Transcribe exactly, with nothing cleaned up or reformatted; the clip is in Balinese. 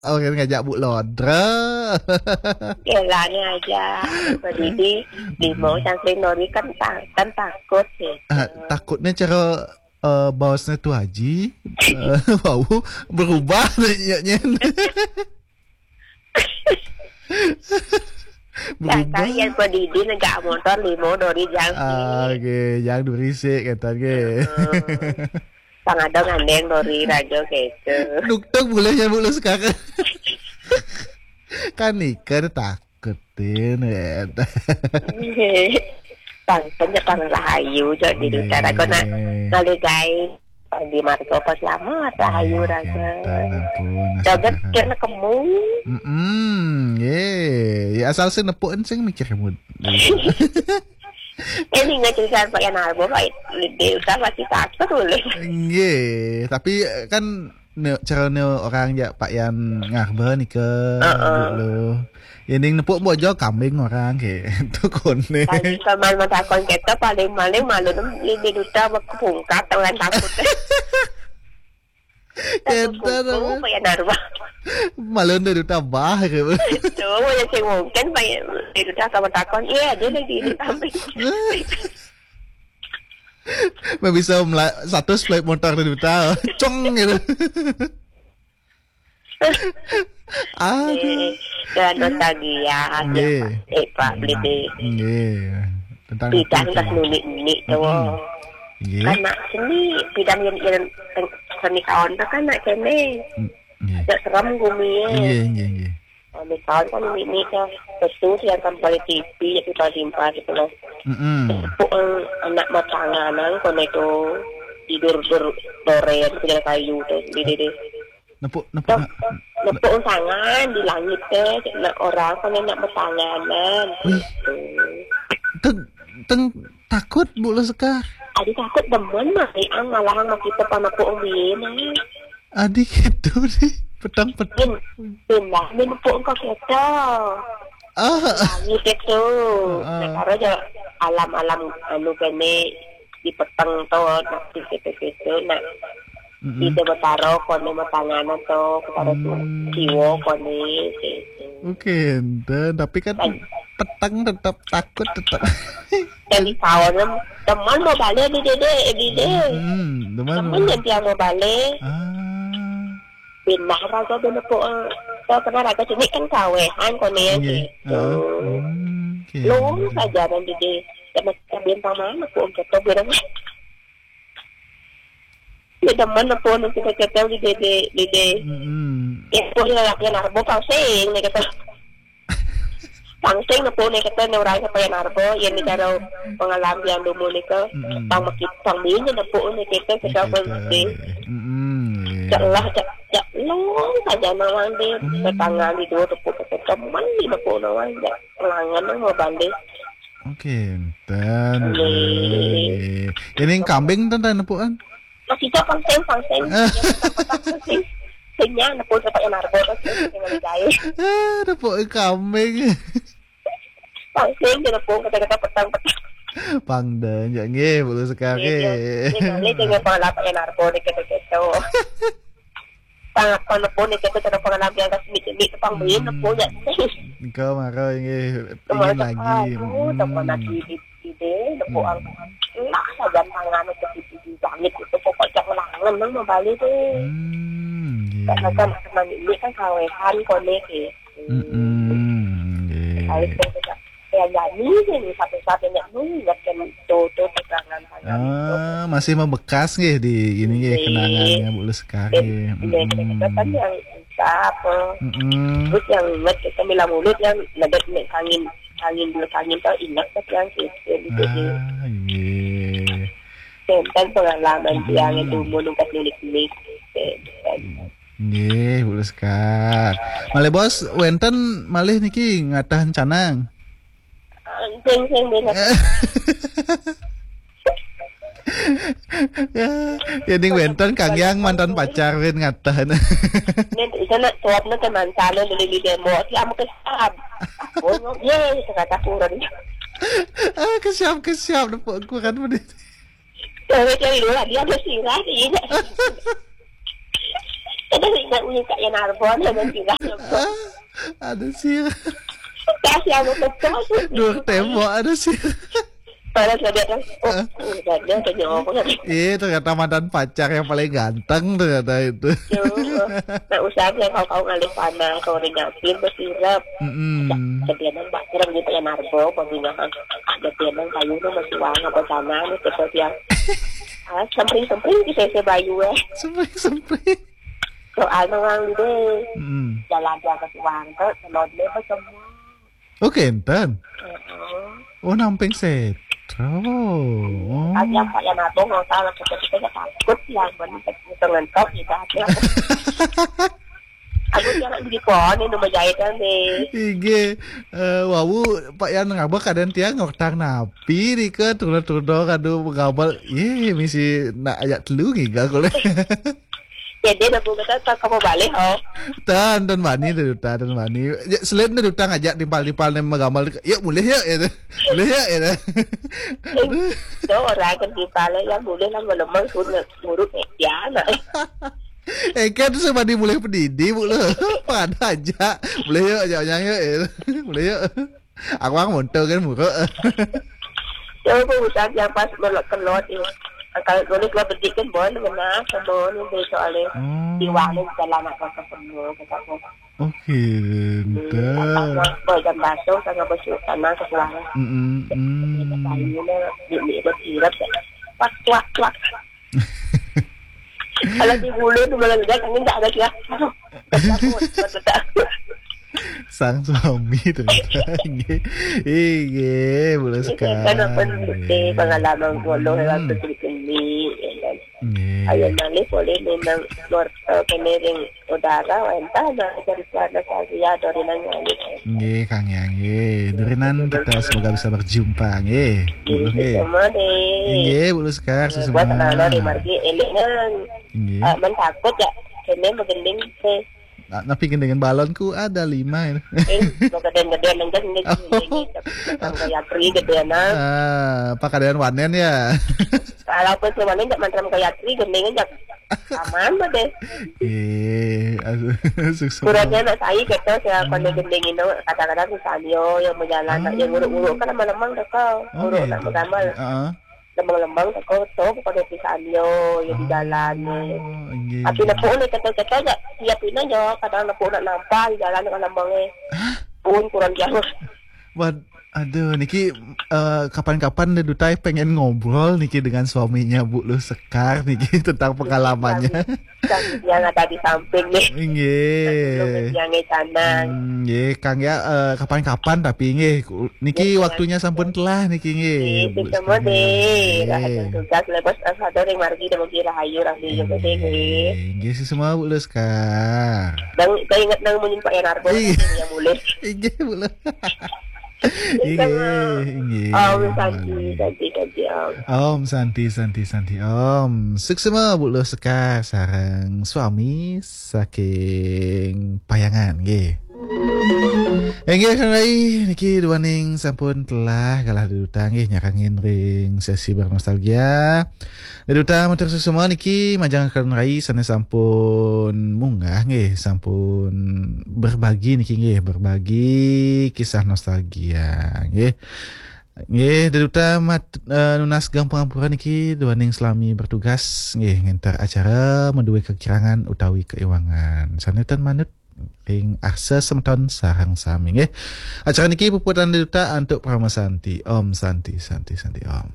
Orang ngajak Bu Lodra. Kelane aja. Berdiri, limo, cangkring nori kan, ta- kan takut gitu. Ah, takutnya cara eh, bosnya tuh Haji eh, mau berubah nanya. Berubah. Kan yang berdiri negak motor limo nori jangkring. Ah, oke, jangan berisik kata ke. Pang ada ngandeng nori rajo gitu. Dukduk boleh ya Bu sekarang. Kan nikah takutin ya. Pang penye pang rahayu jo di utara kona ngalegai pang di margo pas lama rahayu raga. Joget kena kemu. Hmm, ye. Ya asal sih nepukin sing mikir kamu. Ini nggak cerita Pak Yan Arbo, Pak. Dia udah pasti takut boleh. Nggih, tapi eh, kan ne, cara ne orang ya Pak Yan Ngarba nih ke dulu. Ini nepuk bojo kambing orang ke itu kone. Paling kalau malu takon kita paling-paling malu nem ini duta berkepungkat orang takut. Kita Kuku, Pak Yan Arba. Malu dari tambah ke. Tuh, ya sing mungkin Pak Yan. Itu dah sama takon. Iya, dia lagi di kambing. Mbak bisa mela- satu split motor di duta. Cong gitu. Ah, Eh, dan nostalgia, Nggih. Pak. Eh, Pak, beli di Nggih. Tentang bidang itu. Kas nuni-nuni tuh. Hmm. Nggih. Karena seni bidang yang yang seni kawan tuh kan nak kene. Hmm, nggih. Gak serem gumi ya. Nggih, nggih, nggih. Kami kawan kan ini ini kan betul yang kan balik T V ya kita simpan gitu loh. Mm-mm. Puk anak matanganan kono itu tidur ber doren punya kayu tuh di di di. Nepuk, nepuk. Tuh, nak, nepuk tangan di langit teh, nak orang kan nak bertanganan. Wih. Gitu. Teng, teng takut Bu Leskar. Adi takut demen mah, ang malahan mah kita panepuk umbien. Adi gitu nih, petang petang. Min, pindah min nepuk engkau kita. Ah. Langit itu. Ah. Nah, karo aja alam-alam anu kene di peteng to, nak di situ-situ, nak Mm-mm. Ida betaro kone matanganan to, betaro tu Hmm. Kiwo kone gitu. Oke, enten. Tapi kan Kan. Petang tetap takut tetap. Jadi kawan teman mau balik di dede, di dede. Hmm, teman Teman mau. Yang dia mau balik. Ah. Pindah raga dulu po. Kau kena raga sini kan kawehan kone Iya. Gitu. Ah. Hmm, oke. Lurus saja dan dede. Sama bintang mana po kita bilang. Dia demen apa nak kita kata di dede, dede. Mm-mm. Ya, pun lelaki narbo pangsing ni kata. Pangsing apa ni kata ni orang kata yang narbo, yang ni cara pengalaman yang dulu ni ke. Mm-mm. Pang makit, pang bini apa ni kita, kita Kita, pun eh, mm-mm, iya. Cak lah, cak, cak long saja nawang deh. Hmm. Tangan di dua tepuk kata teman ni apa nawang, cak langan mau balik. Oke, enten. Nggih. Nggih. Ini yang kambing enten, enten nepukan? Masih cok pangsing, pangsing. Sing, singnya nepuk sampai yang narbo terus sing lagi jahit. Ah, nepuk kambing. Pangsing dia nepuk kata-kata petang-petang. Pangden, ya nggih, Bu Leskar. Nggih, nggih. Nggih, nggih, dengan pengalaman yang narbo ni kata-kata. Sangat pun nepuk ni kita kena pengalaman yang kasih ni tu pang beli Hmm. Nepuk je. Engkau marah nggih, Kemana ingin lagi. Aduh, Hmm. Teman lagi di sini, nepuk Hmm. Ang. Lah saja tangan itu di, di langit itu pokok cak langan nang membalik tu. Hmm, nggih. Karena kan teman ini kan kawehan kone ke. Mm-mm, nggih. Saya sudah ya jadi ni satu-satunya ni ingatkan tu tu pegangan tangan itu. Ah, masih membekas nggih di ini nggih. Nggih. Kenangannya Bu Leskar Nggih, nggih. Nggih, Mm-mm. Kita kan yang bisa apa. Mm-mm. Terus yang ingat kita bila mulut yang nadat ni angin, angin dulu angin tu ingat kan yang kita di sini. Ah, nggih. Tentang pengalaman Hmm. Yang dulu nungkat milik-milik. Nggih, Bu Leskar. Malih bos, wenten malih niki ngatahan canang. Sing, sing, sing. Ya, ya, ning wenten Kang Yang mantan pacar win ngatahan. Nen, isa nak suap na teman sana beli di demo. Siam ke siam. Bono, ye, kata kurang. Ah, kesiap, kesiap, nepuk kurang bener. Cewek-cewek dulu lah, dia ada sirah, iya. Kada ingat ni Kak Yan Arbon, naman sila. Ada sih. Kasi ako sa. Dua tembok ada sih. Para sa dia kan, oh, udah dia tanya apa kan. Eh, ternyata mantan pacar yang paling ganteng ternyata itu. Nah, usah dia kau kau ngalih panah, kau ring apin bersirap. Mm-mm. Kedianan Pak Kiram gitu ya Narbo, pembinaan. Kedianan kayu tu masih wang apa sana ni, kita yang ah, sempring-sempring kita saya bayu eh. Sempring-sempring. Soalnya orang ni deh, Mm-mm. jalan dia ke suang tu, telur dia macam Oh, kenten. Heeh. Oh, namping setro. Oh. Tapi apa yang abang nggak tahu lah, kita kita nggak takut yang benar kita ngentok gitu hati aku. Aku jangan di pohon ini rumah jahitan deh. Ige, eh, wawu Pak Yan ngabek kadang tiang ngortang napi di ke turun-turun kadu ngabel. Ye, misi nak ajak telu ngiga kule. Jadi dah buka tak kamu balik oh. Tan, tan bani tu duta, tan bani. Ya, selain tu duta ngajak timpal-timpal ni menggambar. Ya, boleh ya, ya. Boleh ya, ya. Tu orang kan di pala yang boleh lah melemang suruh ngurut ya nak. Eh, kan tu sebab dia boleh pedidi, bu lo. Pada aja. Boleh ya, ajak orang ya. Boleh ya. Aku orang montor kan muruk. Ya apa usah yang pas melok kelot ni. Kalau boleh keluar bedik kan boleh kena sama ni deh soalnya. Hmm. Di warung jalan nak kau semua kata aku. Okey, dah. Apa jam basuh sangat besuk sana ke suara. Mm-mm. Mm. Kayu ni ni ni bersirap. Wak wak wak. Kalau di bulu tu malah dia kan tak ada dia. Aduh. Takut, takut. Sang suami ternyata. Nggih. Nggih, boleh sekali. Kan apa ni pengalaman golo waktu kini. Nggih. Ayah malih boleh memang luar uh, kena ring udara entah nak dari sana saya dari nanya ni. Nggih, Kang Yang. Nggih. Durinan kita semoga bisa berjumpa nggih. Bu Luh nggih. Sama deh. Nggih, Bu Luh Sekar Buat sesama. anak-anak di margi elek kan. Nggih. Ah, man takut ya. Kena bergending deh. Na- Napi gendingan balonku ada lima. Eh, gede-gedean aja gending. Sampai yatri gedean ah. Ah, pakadaian wanen ya. Kalau pun semuanya nggak mantra kaya tri gending aja. Aman mah deh. Eh, aduh, sukses. Kurangnya nak saya kata saya kena gending itu kadang-kadang misalnya yang berjalan nak yang uruk-uruk kan lama-lama dah kau. Oh, Uruk gitu. Nak bergambar. Heeh. Lembang-lembang tak kau tahu pada misalnya yang di jalan ni. Oh, nggih. Tapi nak pun kata-kata aja. Tiap ini aja kadang nak pun nak nampak di jalan dengan lembang eh. Pun kurang jauh. Wad, aduh, niki eh, kapan-kapan deh Dutai pengen ngobrol niki dengan suaminya Bu Luh Sekar niki tentang pengalamannya. Yang ada di samping ni. Nggih. Yang di sana. Hmm, nggih, Kang ya eh, kapan-kapan tapi nggih ku- niki waktunya sampun telah niki nggih. Itu semua deh. Rahasia tugas lepas asal dari margi dan mungkin rahayu orang di juga deh. Nggih, nggih sesama Bu Luh Sekar. Dan saya ingat nang munyin Pak Yanarbo Iya. Yang boleh. Nggih, Bu Luh. Nggih, nggih. Om Santi, Santi, Santi Om. Om Santi, Santi, Santi Om. Suksma Bu Luh Sekar sareng suami saking Payangan nggih. Inggih Kang Rai niki duaning sampun telah galah duta nggih nyarengin ring sesi bernostalgia. Duta matur suksma niki majeng Kang Rai sane sampun munggah nggih, sampun berbagi niki nggih, berbagi kisah nostalgia nggih. Nggih, Duta mat, eh, nunas gampang ampura niki duaning selami bertugas nggih nginter acara meduwe kekirangan utawi keiwangan. Sanutan manut ring arsa semeton sareng sami nggih. Acara niki puputang Duta antuk Parama Santi. Om Santi, Santi, Santi Om.